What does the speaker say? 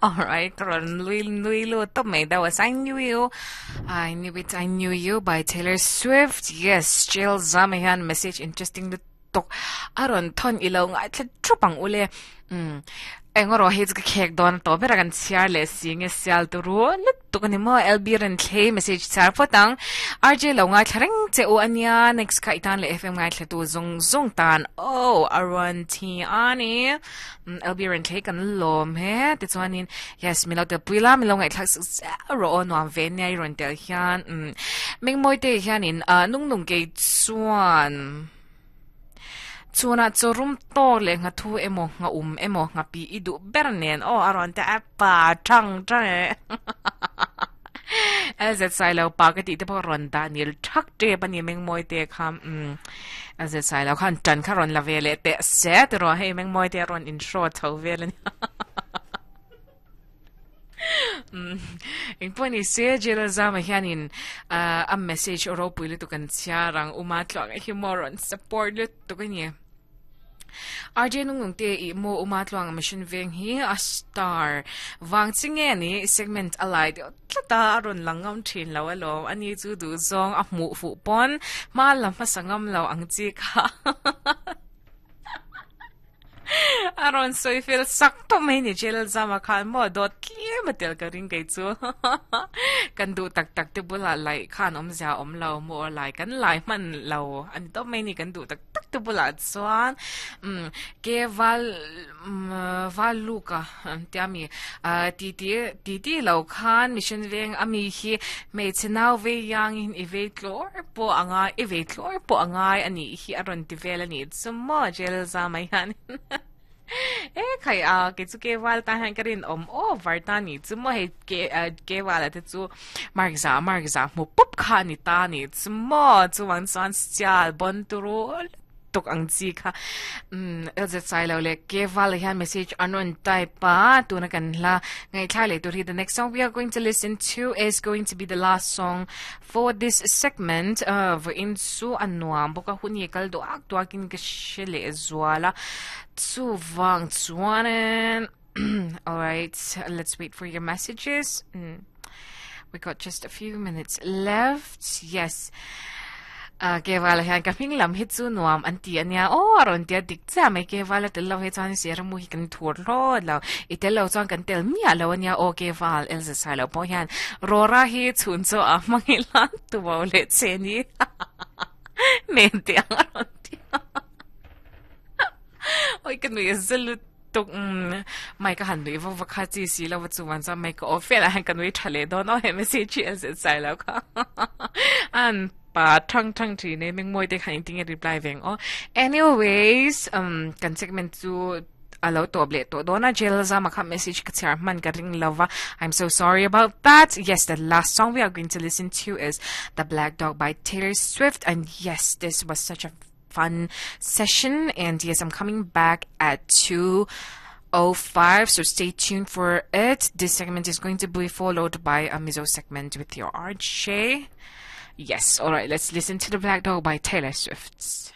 Alright, ka rawn nui nui lut tawp mai. That was I Knew You, I Knew It, I Knew You by Taylor Swift. Yes, Jill Zama hian message interesting lutuk a rawn thawn i lo ngaithla thup ang ule. Um, eng erawh hei chu ka khek dawn tawh ber a kan chhiar leh si nge sial turu lutuk a ni maw LB rawn thlei message chhiar phawt ang. RJ lo ngaithla reng che u a nia next kha i tan leh FM ngaithla tu zawng zawng tan oh a rawn thi a ni. LB rawn thlei kan lawm he tichuanin yes min lo tel pui la min lo ngaihthlak sak zel rawh aw nuam ve nia i rawn tel hian um Mengmawi te hianin ah nung nung kei chuan Chhunah chaw rum tawk leh nghathu emaw ngha um emaw nghapi i duh ber nen aw a rawn ti a pa thang thang e LZ Sailo pa ka tih te pawh rawn dah nil thak tep a ni Mengmawi te kha umm LZ Sailo khan tan kha rawn la ve leh teh se tiraw hei Mengmawi te a rawn in hraw chho vel a nia. Engpawh ni se Jail Zama hianin a message ropui lutuk an chhiar ang Uma Tluanga hi maw rawn support lutuk a ni. RJ Nungnung te i maw Uma Tluanga mission veng hi a star vang chi nge ni segment a lai deuh tlat a a rawn lang ngam thin lo alawm ani chu duh zawng a hmuh fuh pawn hma la hmasa ngam lo ang chi kha. A rawn sawi fel sak tawh mai ni Jail Zama khan maw dawt tlem a tel ka ring kei chu kan duh tak tak te bulah laih khan awmzia a awm lo maw lai kan lai hman lo a ni tawp mai ni kan duh tak tak te bulah chuan umm ke val val luka tia mi ah ti ti ti ti lo khan mission veng a mi hi hmeichhe nau vei yangin i vei tlawr pawh a ngai i vei tlawr pawh a ngai a nih hi a rawn ti vel a nih chu maw jail za mai hian e khai a kei chu ke val tan hian ka rin awm over ta nih chu maw hei ke ke vala te chu mark za mark za hmu pup kha a ni ta nih chu maw chuvang chuan sial bawn turu tuk ang chi kha umm LZ Sailo leh ke vala hian message an rawn type a tuna kan hla ngaihthla leh tur hi the next song we are going to listen to is going to be the last song For this segment, vawiin chu a nuam bawk a, hun hi a kal duak duakin ka hre leh zual a, chuvang chuanin alright, let's wait for your messages. We got just a few minutes left. Yes. Uh, Kevala hian ka hming lam hi chu nuam an ti ania aw a rawn tia dik chiah mai Kevala tel lo hi chuan sir mu hi kan thur hlawt lo i tel lo chuan kan tel miah lo ania aw Keval Elza Sailo pawh hian Rora hi chhun chaw a hmang ila tubo leh che ni nen te ang a rawn ti a oi ka nui a za lutuk mai ka han nui vak vak kha chi si lo va chuan chuan mai ka aw fel ah hian ka nui tha leh dawn aw he message hi Elza Sailo kha an pa thang thang thin e mengmawi te khan engtin nge reply ve ang aw anyways um kan segment chu a lo tawp leh tawh dawn a jail zama kha message ka chhiar hman ka ring lova I'm so sorry about that yes the last song we are going to listen to is The Black Dog by Taylor Swift and yes this was such a fun session and yes I'm coming back at 2 05 so stay tuned for it this segment is going to be followed by a Mizo segment with your RJ yes all right let's listen to The Black Dog by Taylor Swift.